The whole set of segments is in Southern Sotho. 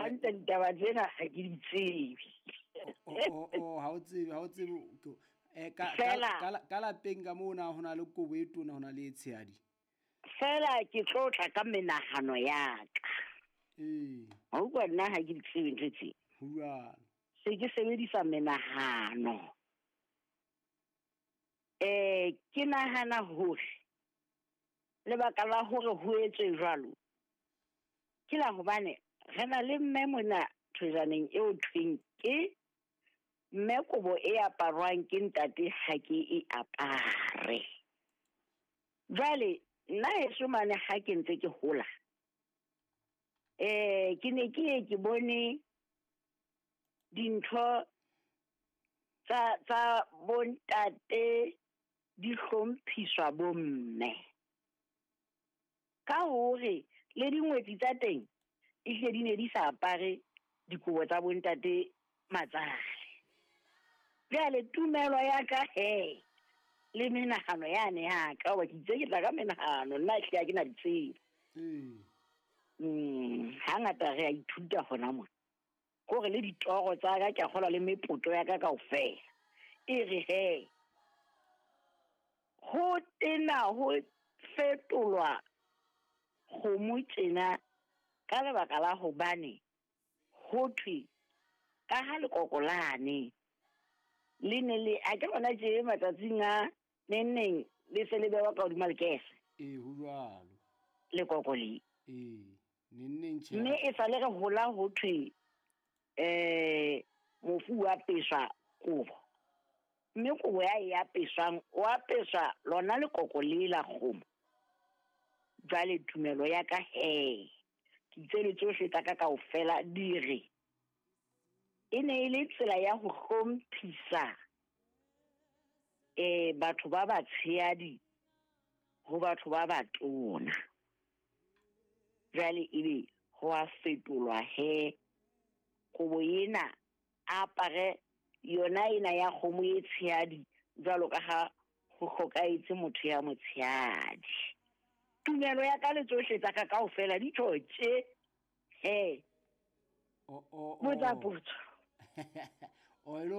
Hantle ditaba tsena ha ke di tsebe. O ha o tsebe, ha o tsebe ka Fela ka lapeng ka moo na ho na le kobo e tona, ho na le e tshehadi? Fela ke tlo tla ka menahano ya ka. Ha utlwa, nna ha ke di tsebe ntho tse. Ho jwalo. Se ke sebedisa menahano. Ke nahana hore lebaka la hore ho etswe jwalo ke la hobane re na le mme mona thojaneng eo thweng ke mme kobo e aparwang ke ntate ha ke e apare. Jwale nna heso mane ha ke ntse ke hola, ke ne ke ye ke bone dintho tsa bontate di hlomphiswa bomme. Ka hore le dingwetsi tsa teng ehlile di ne di sa apare dikobo tsa bontate matsale. Jwale tumelo ya ka he le menahano yane ya ka, hoba ke itse ke tla ka menahano, nna ehlile ha ke na di tsebe. Hangata re a ithuta hona mona. Kore le ditoro tsa ka, ke a kgolwa le mepoto ya ka kaofela. E re he, ho tena ho fetolwa kgomo tjena ka lebaka la hobane ho thwe ka ha lekoko lane le ne le a ke lona tje matsatsing a neng neng le se le bewa ka hodima lekese. Ee, ho jwalo. Lekoko le. Ee, neng neng tjhe. Mme e sale re hola ho thwe mofu wa apeswa kobo. Mme kobo ya e apeswang, o apeswa lona lekoko le la kgomo. Jwale tumelo ya ka he, ke itse le tsohle tsa ka kaofela di re e ne e le tsela ya ho hlomphisa batho ba batshehadi ho batho ba batona. Jwale ebe ho a fetolwa he kobo ena a apare yona ena ya kgomo e tshehadi jwalo ka ha ho hlokahetse motho ya motshehadi. Tumelo ya ka le tsohle tsa ka kaofela di tjho tje he. Botsa potso. O e le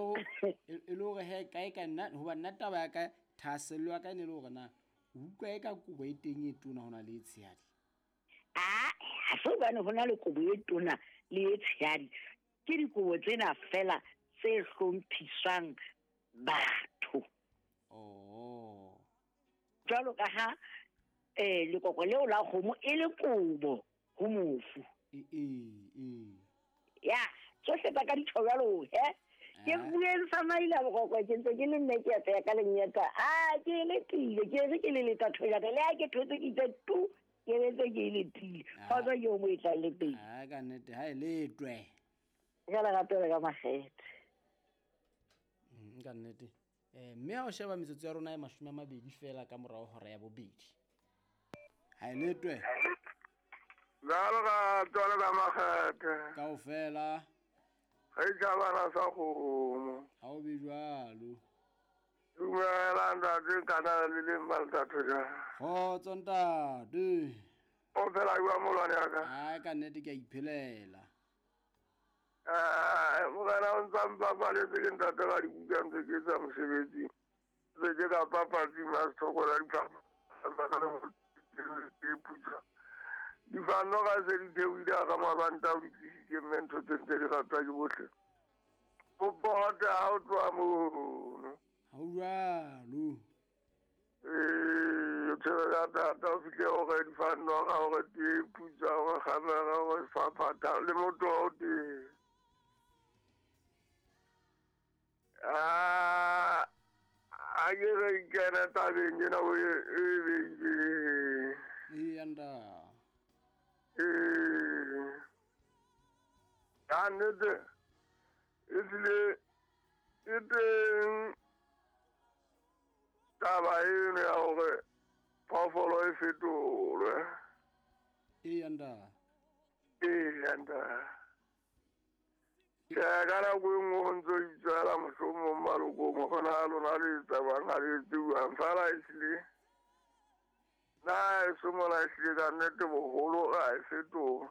hore he kae ka nna, hoba nna taba ya ka thahasello ya ka e ne le hore na o utlwa e ka kobo e teng e tona ho na le e tshehadi? Ah, ha se hobane ho na le kobo e tona le e tshehadi. Ke dikobo tsena fela tse hlomphiswang batho. Jwalo ka ha lekoko leo la kgomo e le kobo ho mofu. Ya, tsohle tsa ka di tjho jwalo he. Ke bueng sa maila boroko, ke ntse ke le nne ke ya ka lenyeta. Ah, ke letile, ke re ke le leta thojana, le ha ke thotse ke itse tu, ke ntse ke letile. Kgotso ke o mo e tlang le teng. Ah, ka nnete ha e letwe. Ka le ratela ka makgethe. Ka nnete. Mme ha o sheba metsotso ya rona e 20 fela ka morao hora ya bobedi. Ha e letwe. La lerato le ka makgethe. Kaofela. Re tjhabana sa kgomo. Ha o be jwalo. Dumela ntate, kana le le mmaltatho jwang? Kgotso ntate. O phela jwang molwane wa ka? Ai, ka nnete ke a iphelela. Morena o ntsa mpapaletse ke ntate ka dibuka ntse ke etsa mosebetsi. Ntse ke ka papatsi ma sethoko la diphahlo. Difano ga se di theohile a ka mabanta o di tlisitse mme ntho tse ntse di ratwa ke bohle. O pota ha o tloha mono. Ha o jwalo. O tshwere ka thata o fihle hore difano ga hore tee putsa hore kgamera hore faphatha le motho o teng. A ke re kena tabeng ena o e beileng. Ee, nda. Ka nnete e tlile e teng taba eno ya hore phoofolo e fetolwe. Ee, nda. Ee, nda. Tjhe, ka nako e nngwe ho ntso itswela mohlomong malokong ho na lona le tsabayang ha le etse jwang. Feela ehlile nna heso mona ehlile ka nnete boholo ha e fetoha.